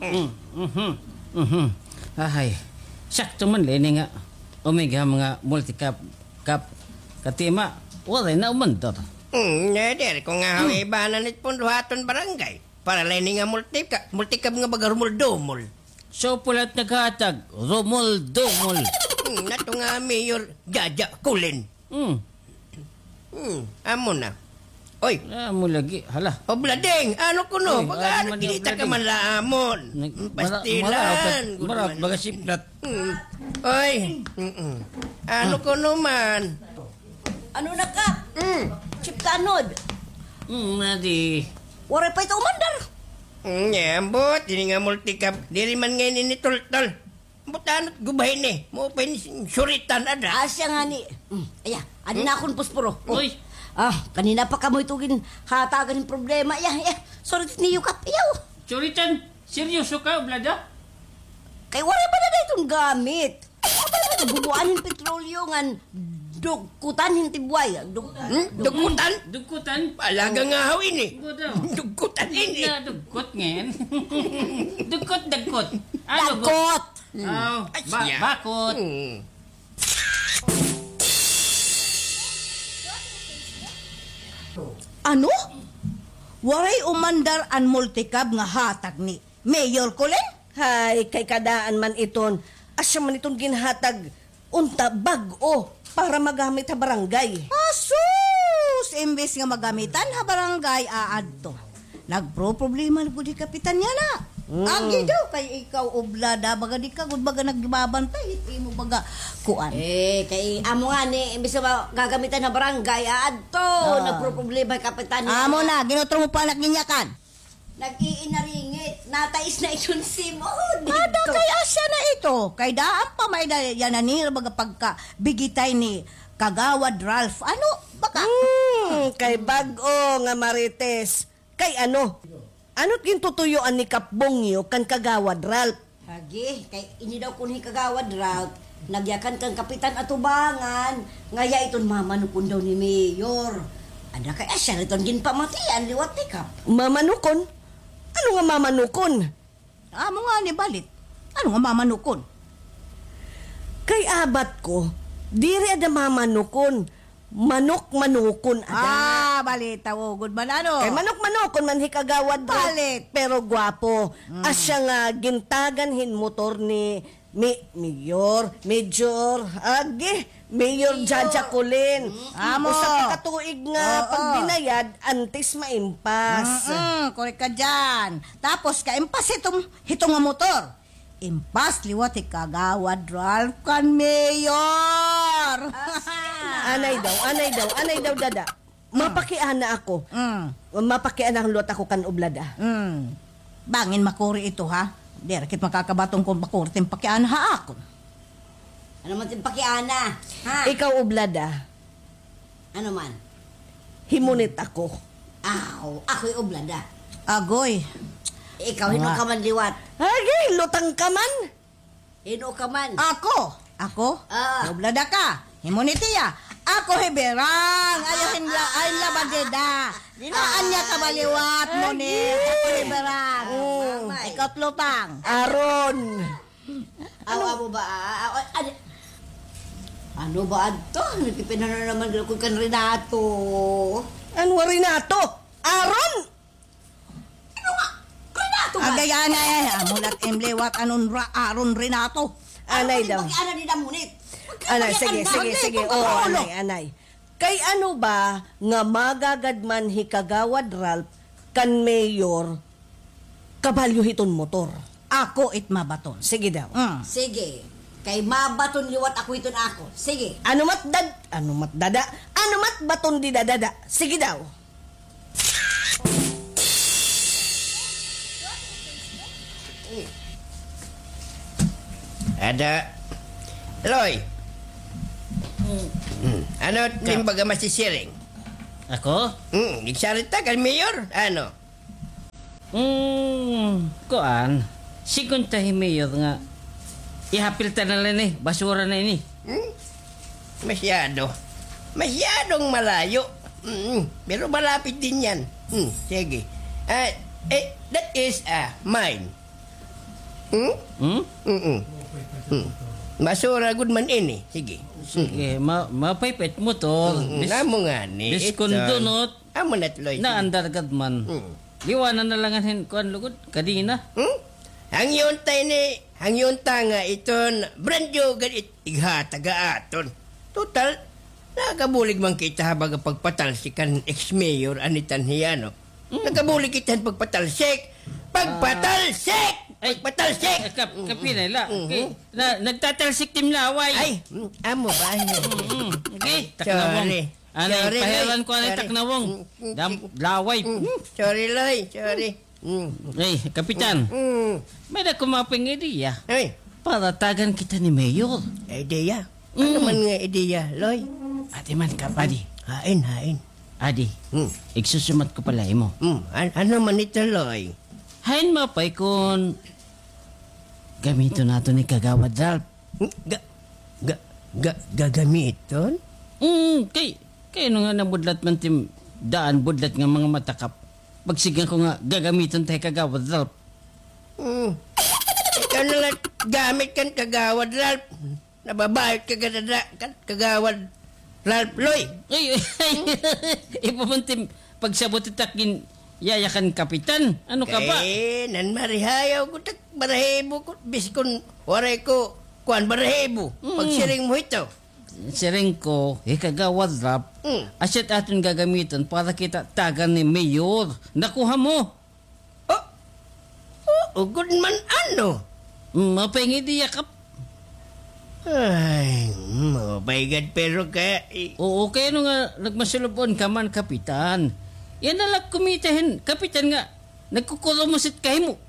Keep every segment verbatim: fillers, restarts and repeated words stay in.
Mm, mhm, mhm. Ahay, sakto man la ini nga umigham nga multicab, kab, katima, waray na umandar. Hmm, eh, diri ko nga hawibanan it pundo ha aton barangay. Para la ini nga multicab, multicab nga baga rumol-dumol. So, pulat naghatag, rumol-dumol. Hmm, nato nga mayor, Jaja Kulin. Hmm. Hmm, amo na. Oy. Amo lagi, hala. Oblading, ano kuno? Uy, baga ano, ano, kinita ka man la amon. Nag-, pastilan. Mara-, maraot, maraot, baga siplat. Hmm. Oy. Mm-mm. Ano kuno man? Ano na ka? Hmm. Chief Tanod. Hmm, nadi. Waray pa ito umandar. Hmm, ambot, ini nga multicab. Diri man ngay-an ini tultol. Butanot gubahin eh. Maupay ni suritan ada. Asya ngani. Mm, aya, adi na akon posporo. Oh. Uy. Ah, kanina pa kamo ito ginhatagan hin problema. Iya, iya. Surit niyo kap, iyaw. Suritan, seryoso ka, Oblada? Kay waray pa na iton gamit. Bubuan hin petrolyo ngan dugkutan hin tibuay. Dug-, hmm? Dugkutan? Dugkutan? Alaga nga haw ini. Dugkutan ini. Dugkot ngay-an. Dugkot, dagkot. Ano, dagkot. Hmm. Aw, ay, ba-, siya. Bakot. Hmm. Ano? Waray umandar an multicab nga hatag ni Mayor Colin? Hay, kay kadaan man iton. Asya man iton ginhatag unta bag-o para magamit ha barangay. Asus! Imbes nga magamitan ha barangay, aadto. Nagproproblema na gud hi kapitan yana. Mm. Agi daw kay ikaw, Oblada, baga di ka gud baga nagbabantay hit imo baga kuan. Eh, kay amo ngani, imbes nga gagamitan ha barangay, aadto. Ah. Nagproproblema hi kapitan yana. Amo na, ginutro mo pa anak niya kan. Nag-iinaringit. Natais na iton simod. Ada kay asya na ito. Kay daan pa may da-, yana nira baga pagkabigitay ni Kagawad Ralph. Ano? Baka. Hmm, kay bag-o nga marites. Kay ano? Ano't gintutuyoan ni Kap Bongyo kan Kagawad Ralph? Agi, kay ini daw kun hi Kagawad Ralph, nagyakan kan Kapitan Atubangan, nga iya iton mamanukon daw ni Mayor. Ada kay asya iton ginpamatian liwat ni Kap. Mamanukon? Ano nga mamanukon? Amo ngani balit. Ano nga mamanukon? Kay abat ko, diri ada mamanukon. Manok-manukon ada. Ah, balita, oh, gud man, ano? Kay manok-manukon man hi Kagawad Ralph, balit. Pero gwapo. Mm. Asya nga gintagan hin motor ni Mi-, Mayor, Major, agi, Mayor Jaja Colin. Mm. Amo. Usa ka tuig nga pagbinayad antes maimpas. Mm-mm, korek ka dyan. Tapos, kaimpas hitong, hitong nga motor. Impas liwat hi Kagawad Ralph kan Mayor. Anay daw, anay daw, anay daw, dada. Mapakiana ako. Mm. Mapakiana liwat ako kan Oblada. Mm. Bangin makuri ito, ha? Diri kit makakabaton kon makuri it im pakiana ha akon. Ano man it im pakiana, ha? Ikaw, Oblada. Ano man? Himunit ako. Aw, ako hi Oblada. Agoy. Ikaw, hin-o ka man liwat? Agi, lutang ka man. Hin-o ka man? Ako. Ako? Ah. Hi Oblada ka. Himunit hiya. Ako hi Berang. Ayaw hin la-, ay, labadida. Dinaan niya ka ba liwat, munit. Ako hi Berang. Mm. Ikaw, lutang. Aron. Aw, amo ba, ah, ah, ah, ano ba adto? Nagpipinano naman ko kan Renato. Ano nga Renato? Aron! Ano nga? Renato ba? Agay, anay, ay, amo la it im liwat, anon ra-, Aron Renato. Anay daw. Pag-ana di damunit. Anay, sige, sige, sige. Oo, anay, anay. Kay ano ba nga magagad man hi Kagawad Ralph kan Mayor kabalyo hiton motor? Ako it mabaton. Sige daw. Mm. Sige. Kay mabaton liwat ako hiton ako. Sige. Ano mat dad-, ano mat dada? Ano mat baton di dadada? Sige daw. Ada. Loy. Mm. Mm. Ano it im baga masisiring? Ako? Mm, nagsarita kan Mayor. Ano? Mm, kuan. Sigon ta hi Mayor nga ihapil ta na la ini, basura na ini. Hmm? Masyado. Masyadong malayo. Mm, pero malapit din yan. Hmm, sige. Ah, eh, that is, ah, mine. Hmm? Hmm? Mm-mm. Hmm. Masura gud man ini. Sige. Sige, ma-, mapaypay it motor. Mm-mm. Bis-, namo ngani, biskon ito. Dunot. Amo na tuloy. Naandar gad man. Hmm. Liwanan na la hin kuan lugod, kadena. Hmm? Hangyo unta ini, hangyo unta nga iton brand new gad it ighatag ha aton. Total, nakabulig man kita ha baga pagpatalsik kan ex-mayor Annie Tanjiano. Mm. Nakabulig kita hin pagpatalsik. Pagpatalsik! Ah. Ay, pagpatalsik! Eh, kap-, kapila la. Mm-hmm. Okay. Na, nagtatalsik tim laway. Ay, mm, amo ba? Mm-hmm. Okay, taknawong. Sorry. Ano, sorry, pahiran Loy. Ko ano, sorry. Taknawong. Mm, mm, dam, mm, laway. Mm, mm. Sorry, Loy. Sorry. Mm. Ay, Kapitan. Mm. May-ada ako mapay nga ideya. Ay. Para tagan kita ni Mayor. Ideya? Ano man nga ideya, Loy? Adi man, Kap, adi. Hain, hain. Adi, igsusumat ko pa la ha imo. Mm. An-, ano man ito, Loy? Hain mapay kon gamiton naton ni Kagawad Ralph? Hmm? Ga-, ga-, ga-, gagamiton? Mm, kay, kay ano nga nabudlat man tim daan budlat nga mga mata, Kap. Pagsiring ko nga gagamiton ta hi Kagawad Ralph. Hmm. Ikaw na la gamit kan Kagawad Ralph. Nababayot ka gad ada kan Kagawad Ralph, Loy. Ay, ay, ipamantim pagsabot it ak gin-, yaya kan Kapitan. Ano ka ba? Kay nan marihayaw gud ak balahibo ko, biskon waray ko kuan balahibo. Mm. Pagsiring mo hito. Siring ko, hi Kagawad Ralph, mm, asya it aton gagamiton para kita tagan ni Mayor. Nakuha mo? Oh, oo gud man, ano? Mm, mapay nga ideya, Kap. Ay, mapay gad, pero kay... Oo, kay ano nga nagmasulub-on ka man, Kapitan? Yana la kumita hin Kapitan nga nagkukurumos it kahimo.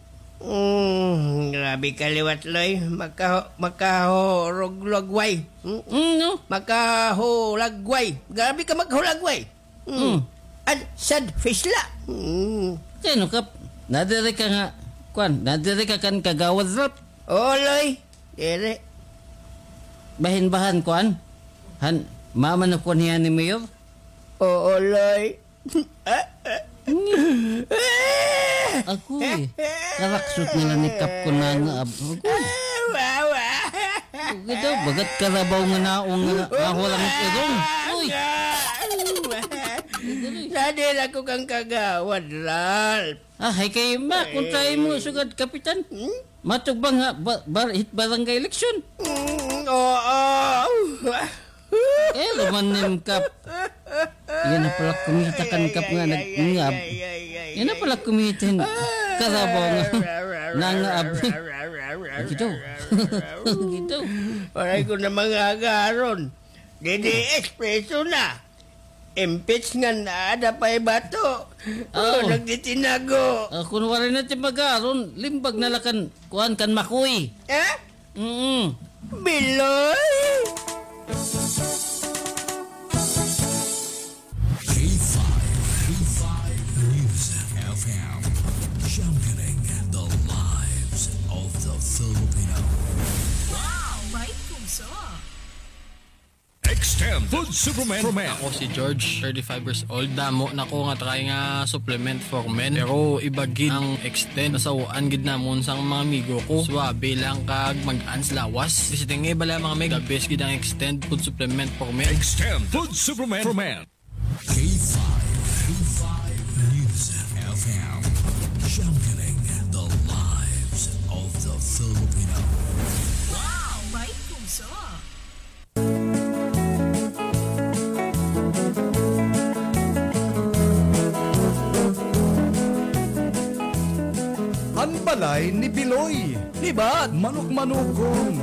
Mm, grabe ka liwat, Loy. Makaho-, makahulagway. Mm, no? Makahulagway. Grabe ka maghulagway. Mm. Mm. An sad face la. Mm. Kay ano, Kap? Nadiri ka nga, kuan, nadiri ka kan Kagawad Ralph? Oo, Loy. Diri. Bahin-bahan, kuan? Han, mama na kuan hiya ni Mayor? Oo, Loy. Ako, eh. Karaksot na la ni Kap kon nangaab. Ako, eh. Wawa. Ako daw, bagat karabaw nga naong nga, nga hulang irong. Uy. Nadiri ako kan Kagawad Ralph. Ah, hay kay ma, kontra imo sugad, Kapitan. Hmm? Matugba nga, ba-, bar-, hit barangay eleksyon. Mm, oo. Eh, luman nim, Kap. Yana pala kumita kan Kap nga nag-, ngab. Yana pala kumita hin karabaw nga nangaab. Gito. Gito. Waray ko na mangagaron. Didi espreso na. Impeach ngan ada pa ibato. Oh, nagtitinago. Ah, kun waray na ti mag-aron, limbag na la kan, kuan, kan Makoy. Eh? Mm. Biloy! K five, K five News F M, championing the lives of the Filipino. Wow, bait puso. Extend Food Supplement for Men. Ako si George, thirty-five years old. Damo na ko nga try nga supplement for men. Pero iba gid ang Extend. Nasaw-an gid namon sang mga amigo ko. Suabe lang kag mag-ans lawas. Visiting nga iba lang, mga mig. The best gid ang Extend Food Supplement for Men. Extend Food Supplement for Men. K five, K five News F M. Championing the lives of the Filipino. Wow, bait puso. An balay ni Biloy. Libat. Manok-manokon.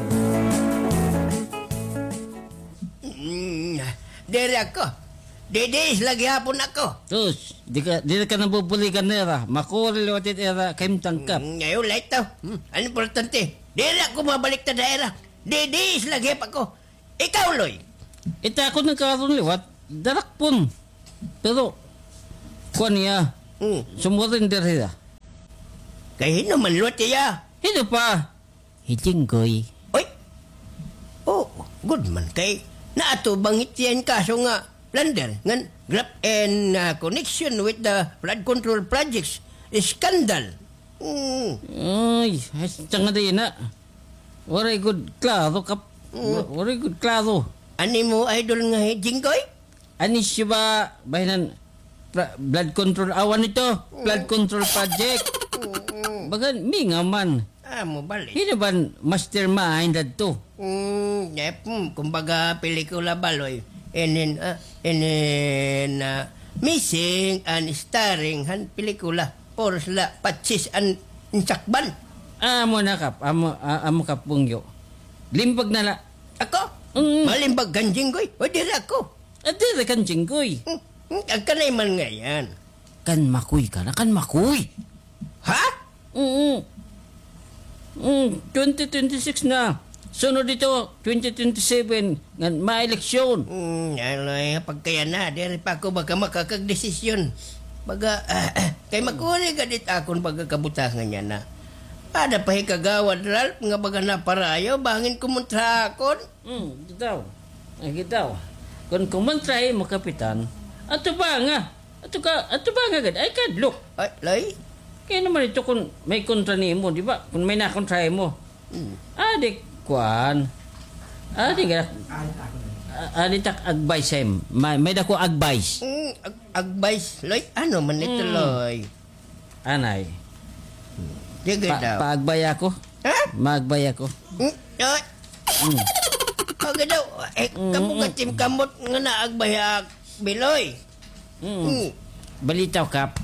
Mm, diri ako. Didiis la gihapon ako. Sus, di ka, di ka nabubuligan nira. Makuri liwat it ira kahimtang, Kap. Mm, ayaw la ito. Hmm, ano importante? Diri ako mabaliktad ha ira. Didiis la gihap ako. Ikaw, Loy. Ita ako nagkaron liwat. Darakpon. Pero, kuan niya. Hmm. Sumurrender hiya. Kay hin-o man liwat hiya? Hin-o pa? Hi Jinggoy. Oy! Oh, good man kay naatubang it iya hin kaso nga plunder ngan graft in, ah, connection with the flood control projects scandal. Mm. Ay, hasta nga di na. Waray gud klaro, Kap. Mm. Wa-, waray gud klaro. An imo idol nga hi Jinggoy? Ani siya ba, bahinan, pra-, blood control, awan ito, blood control project. Mm. Bagan, mingaw man. Amo bali. Hino ban mastermind adto? Mm, yep, hmm, kumbaga pelikula baloy. Inin, ah, inin, ah, missing and starring han pelikula. Puros la patsis an insakban. Amo na, Kap, amo, ah, amo, Kap Bungyo. Limbag na la. Ako? Mm. Malimbag kan Jinggoy? O, diri ako. Ah, diri kan Jinggoy. Hmm, hmm, agkanay man ngay-an. Kan Makoy ka na, kan Makoy. Ha? Mm. Mm, twenty twenty-six na. Sunod ito, twenty twenty-seven, ngan ma-eleksyon. Mm, ano, eh, pagkaya na, diri pa ako baka makakagdesisyon. Baga, kay makuri ka dit akon pagkakabutangan niya na. Ada pa hi Kagawad Ralph nga baga naparayo, bangin kumontra akon. Hmm, gitaw. Ay, gitaw. Kon kumontra imo, Kapitan, ato ba nga? Ato ka, ato ba nga gad? Ay, kadlok. Ay, lay? Kaya naman ito kung may kontra nimo, di ba? Kung may nakontra imo. Hmm. Adi, kuan. Adi nga, a-, adi tak advice, em. May, may dako advice. Hmm, ag-, advice, Loy? Ano man ito, hmm, Loy? Anay. Sige pa-, daw. Paagbay ako. Ha? Maagbay ako. Hmm? Ay. Hmm. Pagka daw, eh, mm, kabugat im kamot nga naagbay ak, Biloy. Mm. Hmm. Balitaw, Kap.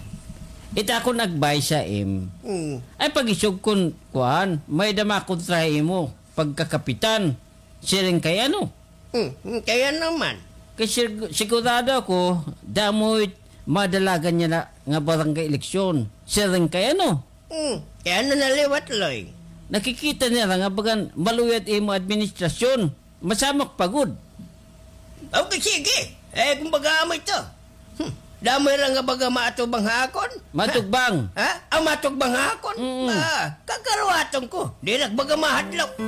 Ita akon agbay sa im. Hmm. Ay, pag-isog kon, kuan, may dama kontra imo, pagkakapitan. Siring kay ano? Hmm, hmm, kaya naman. Kay sig-, sigurado ako, damo it madalagan niya na nga barangay eleksyon. Siring kay ano? Hmm, kaya na naliwat, Loy. Nakikita niya nga bagan maluyad imo administrasyon. Masamak pa gud. Okay, sige. Eh, kumbaga amo ito. Hmm, damo ira nga baga maatubang ha akon. Matugbang. Ha? Ah, matugbang ha akon? Mm. Ah, kakaruwaton ko. Diri ak baga mahadlok.